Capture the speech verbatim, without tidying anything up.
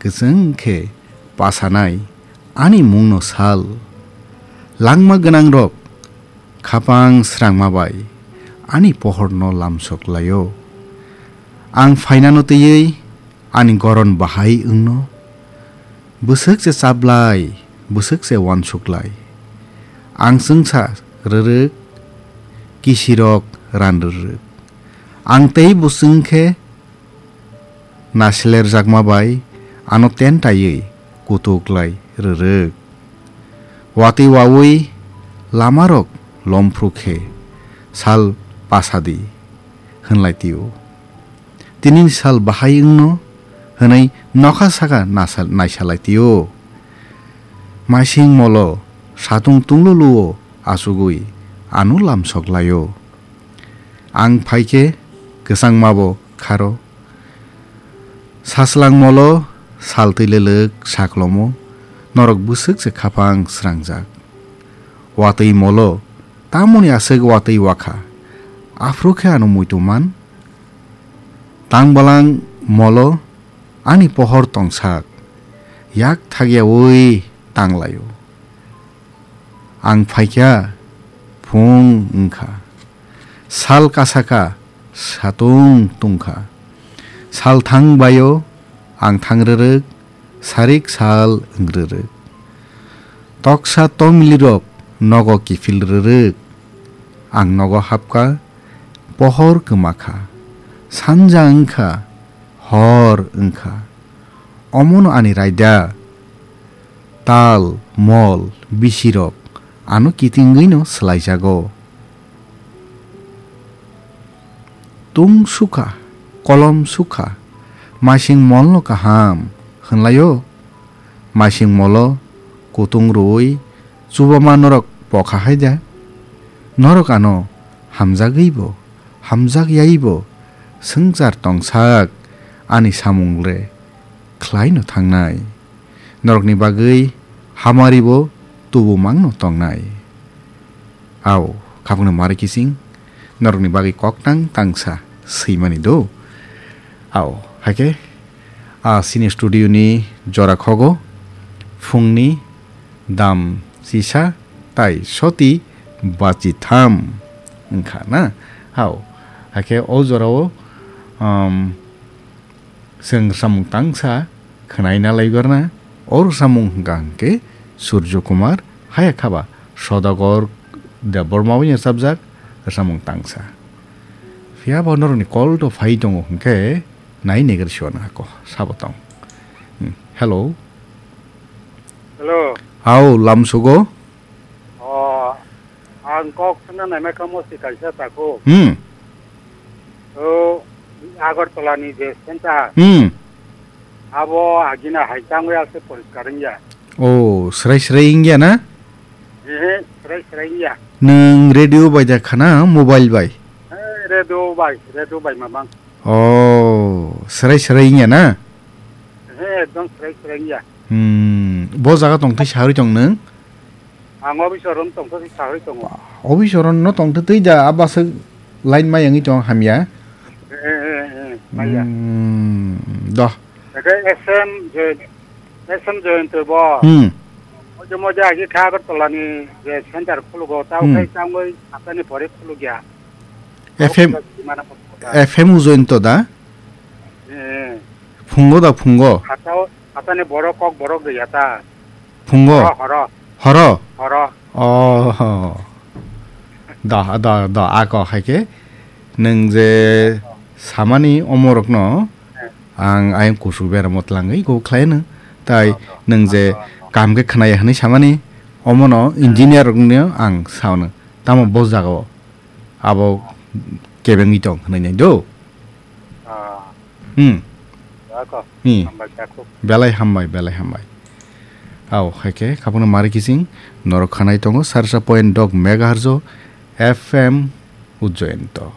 Kwchwng khe pasanai ani mungno sal. Langma gwnangrok khapang srangma bai ani pohorno lamsok laio. Ang phainano twiwi ani goron bahai wngno. Bwswk se chaplai, bwswk se uansuklai. Ang chwngsa rwrwk, kisirok ran rwrwk. Ang tei bwswng khe naslerjakma bai ano tentaiwi kutuklai rwrwk. Watwi wawi lamarok lomphru khe sal pasadi hwnlai tio. Tinini sal bahai wngno hwnwi nokha saka nasa-, naisalai tio. Maising molo satung tungluluo achugwi ano lamsok laio. Ang phaikhe kwchangmabo kharo. Saslang molo sal twi lelek saklomo, norok bwswk se khapang srangjak. Watwi molo tamoni aswk watwi wakha, aphuru khe ano muitu man. Tang balang molo ani pohor tongsak, yak thagyawi tanglaio. Ang phaikha, phung wngkha. Sal kasaka, satung tungkha. Sal thang baio, ang thang rwrwk, sarik sal wng rwrwk. Toksa tomilirok nogo kiphil rwrwk. Ang nogo hapkha, pohor kwmakha. Sanja wngkha, hor wngkha. Omono ani raida. Tal, mol, bisirok ano kitingwino swlaijago. Tung sukha, kolom sukha, maising molno kaham hwnlaio. Maising molo kutung rwui chubama norok pokha hai da. Norok ano hamjagwibo, hamjakyaibo swngchar tongsak ani samung le khlaino thangnai. Norokni bagwi hamaribo tubumangno tongnai. Ao, khapangno mari kising, norokni bagwi koktang tangsa swimani do. Ao, haikhe, a sini studio ni jora khogo, phungni dam sisa tai soti bachi tham wngkha na. Ao, haikhe o jorao, um, Chwng rwchapmung tangsa khwnaina laigorna, o rwchapmung hwnkha hwnkhe Surjo Kumar, haya khaba Sodagar Debbarma bai rwchapjak rwchapmung tangsa. Phiya bo norokni call to phai tongo hwnkhe nai negar siwana hako sabo tong. Hmm. Hello. Hello. Hao, lamsugo? O, ang kok sana naima kamo si kaisa tako. Hmm. O, Agartala ni je center. Hmm. Abo agina hai tangwi ase poriskar wngya. O, srai srai wngya na? Ehe, srai srai wngya. Nwng radio bai da khana mobile bai? Eh, radio bai, radio bai mamang. O, srai srai wngya na? Ehe, ekdom srai srai wngya. Hmm, bo jaga tong thai saharwi tong nwng? Ang office o rom tong thai saharwi tongo. Office o rom no tong thai twi da, abaswk line mai wngwi tong hamya. Eh, eh, eh, eh, maya. Hmm, doh. Eke S M je, S M Jayanta bo. Hmm. Oje moje agi kha Agartala ni je center khulugo, tao Hmm. khai tangwi haptani pore khulugya. F M, Mana F M Ujayanta da? Eh. Phungo da phungo? Hatao, hatani borok kok borok gaya ta. Phungo? Horo, horo. Horo? Horo. Oh. Da, da, da, ako hai khe. Nwng je samani omorokno Eh. ang ayang kusu beramo tlangwi go khlaino. Tai Oh, oh. nwng je Oh, oh. Kam khe khnaya hwnwi samani omono engineer rokno ang saono. Tamo bo jagao. Abo kebengwi tong hwnwi nai do. Ah. Hmm. Ako, Hmm. Hambai kako. Belai hambai, belai hambai. Ao, hai khe, khapano mari kising, norok khanai tongo, sarsa point dok megahertz o F M Ujayanta.